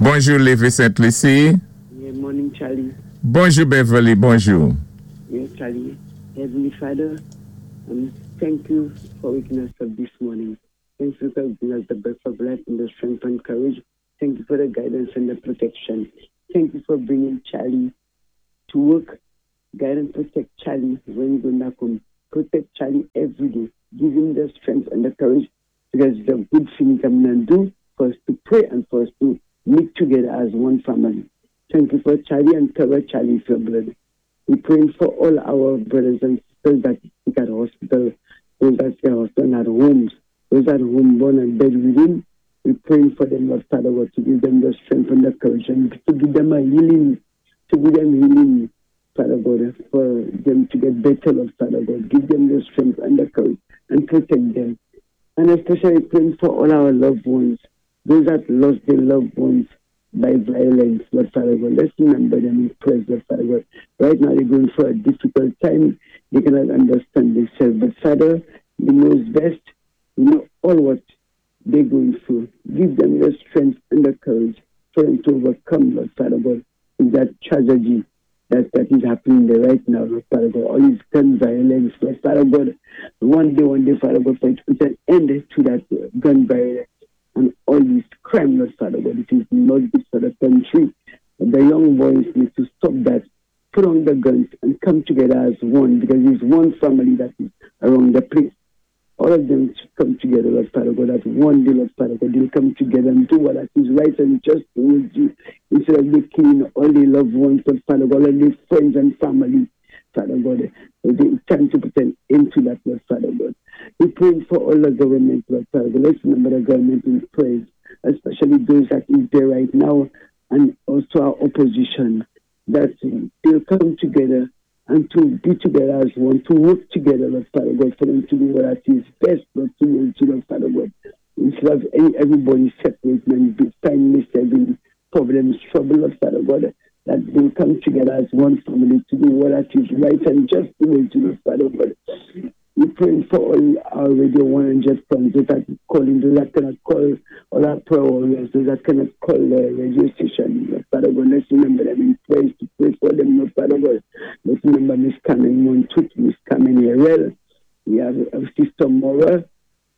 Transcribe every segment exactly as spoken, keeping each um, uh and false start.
Bonjou, Lévé Sainte-Lucie. Yeah, morning, Charlie. Bonjou, Beverly. Bonjou. Yes, Charlie. Heavenly Father, um, thank you for waking us up this morning. Thank you for giving us the breath of life and the strength and courage. Thank you for the guidance and the protection. Thank you for bringing Charlie to work. Guide and protect Charlie when he's going back home. Protect Charlie every day. Give him the strength and the courage because it's a good thing come and do for us to pray and for us to meet together as one family. Thank you for Charlie and cover Charlie with your blood. We praying for all our brothers and sisters that sick at hospital, those that sick at hospital and at homes, those at home born and bedridden. We praying for them, Lord Father God, to give them the strength and the courage and to give them a healing, to give them healing, Father God, for them to get better, Lord Father God. Give them the strength and the courage and protect them. And especially praying for all our loved ones, those that lost their loved ones by violence, Lord Father God. Let's remember them in prayer, Lord Father God. Right now they're going through a difficult time. They cannot understand themselves. But Father, you knows best. You know all what they're going through. Give them the strength and the courage for them to overcome, Lord Father God, that tragedy that, that is happening there right now, Lord Father God. All this gun violence, Lord Father God. One day, one day, Father God, for it to put an end to that gun violence and all this crime, Lord Father God. It is not good for the country. The young boys need to stop that, put on the guns and come together as one because it's one family that is around the place. All of them should come together, Lord Father God, that one day, Lord Father God, they'll come together and do what is right and just towards you instead of they killing all their loved ones, Lord Father God, all their friends and family, Father God. It's time to put an end to that, Lord Father God. We pray for all the government, Lord Father God. Let's remember the government in prayers, especially those that is there right now and also our opposition, that they'll come together and to be together as one, to work together, Lord Father God, for them to do what is best, Lord, to you, Lord Father God. Instead of any, everybody separate and be find themselves in problems, trouble, Lord Father God, that they'll come together as one family to do what is right and just towards you, Lord Father God. We praying for all our Radio one hundred friends, those that calling, those that cannot call, all our prayer warriors, those that cannot call the radio station. Lord Father God, let's remember them in prayers to pray for them, Lord Father God. Let's remember Miss Carmen Montut, Miss Carmen Herrell. We have, have Sister Mora,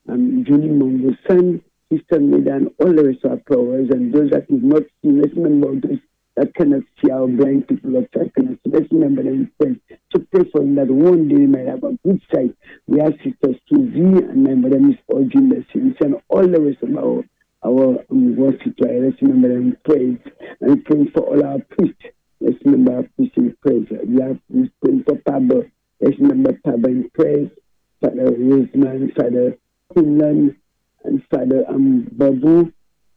um, Julie Mongosan, Sister Meda, and all the rest of our prayer warriors, and those that is not seen. Let's remember those that cannot see, our blind people, Lord, that cannot see. Let's remember them in prayers to pray for them that one day they might have a good sight. We have Sister Susie and my mother, Miss Audrey in the city, and all the rest of our our um, worship. Let's remember them in prayers and pray for all our priests. Let's remember our priests in prayers. We have we pray for Pablo. Let's remember Pablo in prayers. Father Roseman, Father Quinlan, and Father um, Babu,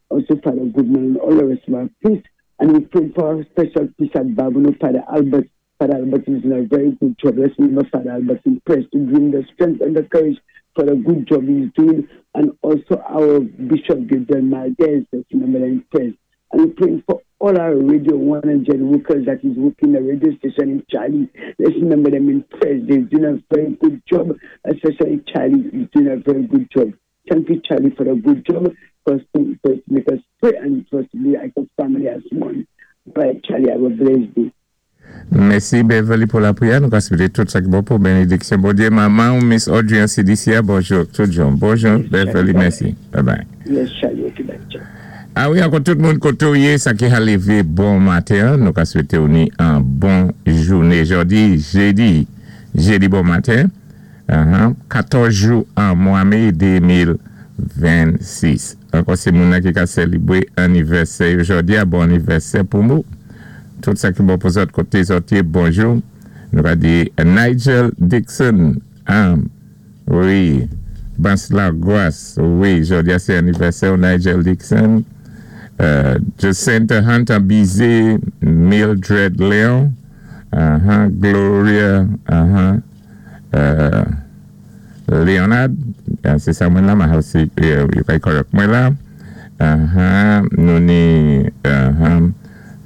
also Father Goodman, and all the rest of our priests. And we pray for our special priest at Babonneau, Father Albert. Father Albert is doing a very good job. Let's remember Father Albert in prayers to bring the strength and the courage for the good job he's doing. And also our Bishop Gabriel Maldez, let's remember them in prayers. And we pray for all our Radio one hundred workers that is working the radio station in Charlie. Let's remember them in prayers. They're doing a very good job, especially Charlie is doing a very good job. Thank you, Charlie, for the good job. First, to, first make us pray and first be like a family as one. Bye, Charlie. Have a blessed day. Mèsi, Beverly, pou lapriyè. Nou swété tout sa ki bon pou bénédiksyon. Bondyé, manman ou Miss Audrey an C D C. Bonjou, tout jan. Bonjou, Beverly, mèsi. Bye bye. Yes, Charlie. Okay, bye. Ciao. A wi, ankò tout moun koté ou yé, sa ki ka lévé bon maten, nou ka swété ou ni an bon jouné. Jòdi, jédi, jédi bon maten, uh-huh, katòz jou an mwa mé de mil vennsis. Ankò sé moun ki ka sélébwé anivèsè jòdi a, bon anivèsè pou mou. Tout sa ki bon pou zòt koté zòt yé, bonjou. Nou ka di Nigel Dixon, um, wi, Bansla Gwas, wi, jòdi a sé anivèsè Nigel Dixon. Uh, Jacinta Hunter Bizet, Mildred Leon, uh-huh, Gloria, uh-huh, uh, Leonard, sé sa mwen la, ma si yo kay kòrèk mwen la. Uh-huh, nou ni, uh-huh,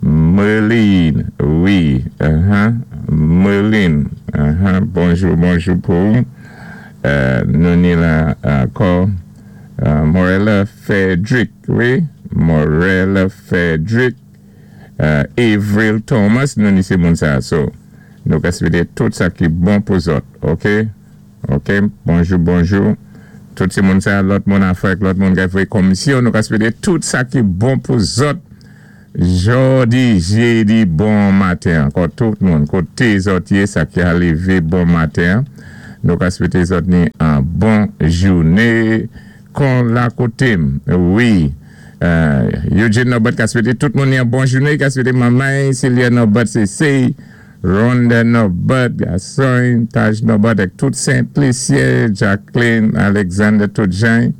Merline, wi, uh-huh, Merline, uh-huh, bonjou, bonjou pou. Uh, nou ni la ankò, uh, Morella Frederick, wi, Morel Frederick, uh, Avril Thomas, nou ni sé moun sa. So, nou ka swété tout sa ki bon pou zòt, ok? Ok, bonjou, bonjou. Tout sé moun sa, lòt moun Afrik, lòt moun ka fwé komisyon, nou ka swété tout sa ki bon pou zòt. Jòdi, jédi, bon maten. Ankò tout moun, koté zòt yé, sa ki a lévé bon maten. Nou ka swété zòt ni an bon jouné kon la koté-m. Wi. Euh, Eugene Norbert ka swété tout moun ni an bon jouné, ka swété manmay, Celia Norbert, Cécile, Rhonda Norbert, Gasson, Taj Norbert, ak tout Saint-Lucien, Jacqueline, Alexander, tout Jean,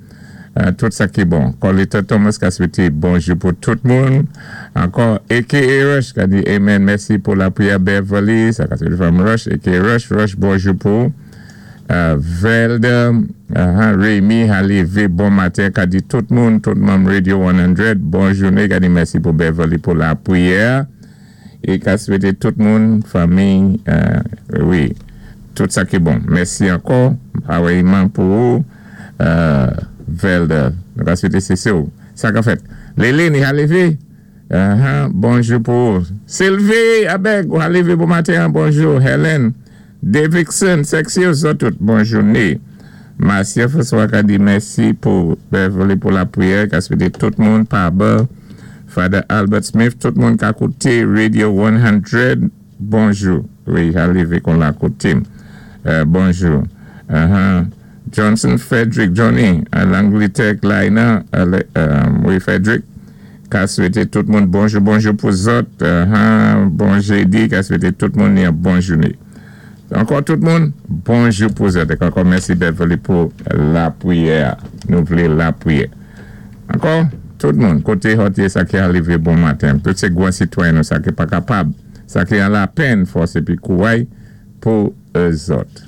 euh, tout sa ki bon. Colita Thomas ka swété bonjou pou tout moun. Ankò, A K A Rush, ka di amen, mèsi pou lapriyè Beverly, sa ka swété from Rush, A K A Rush, Rush, bonjou pou. Uh, Velda, uh, Rémi, Halivé, bon maten, ka di tout moun, tout moun Radio san, bon jouné, ka di mèsi pou Beverly pou lapriyè. É ka swété tout moun, fanmi, euh, wi, tout sa ki bon. Mèsi ankò, awèyman pou ou, euh, Velda, nou ka swété sé sa. Sa ka fèt. Léline, Halivé, uh, bonjou pou ou. Sylvie, abèk, Halivé, bon maten, bonjou. Helen, Davidson, Sexy, zòt tout, bon jouné. Marcia François ka di mèsi pou Beverly pou lapriyè, ka swété tout moun pa ba. Father Albert Smith, tout moun ka kouté Radio san, bonjou. Wi, arivé kon la koté. Euh, bonjou. Uh-huh. Johnson Frederick, Johnny, à l'Angleterre, Laina, euh, wi, Frederick, ka swété tout moun bonjou, bonjou pou zòt. Uh-huh. Bon jédi, ka swété tout moun yon bon jouné. Ankò tout moun, bonjou pou zòt. Ankò mèsi Beverly pou lapriyè. Nou vlé lapriyè. Ankò, tout moun, koté hòt yé sa ki arivé bon maten. Tout sé gwan sitwayen nou sa ki pa kapab. Sa ki an lapenn fòs épi kouway pou zòt.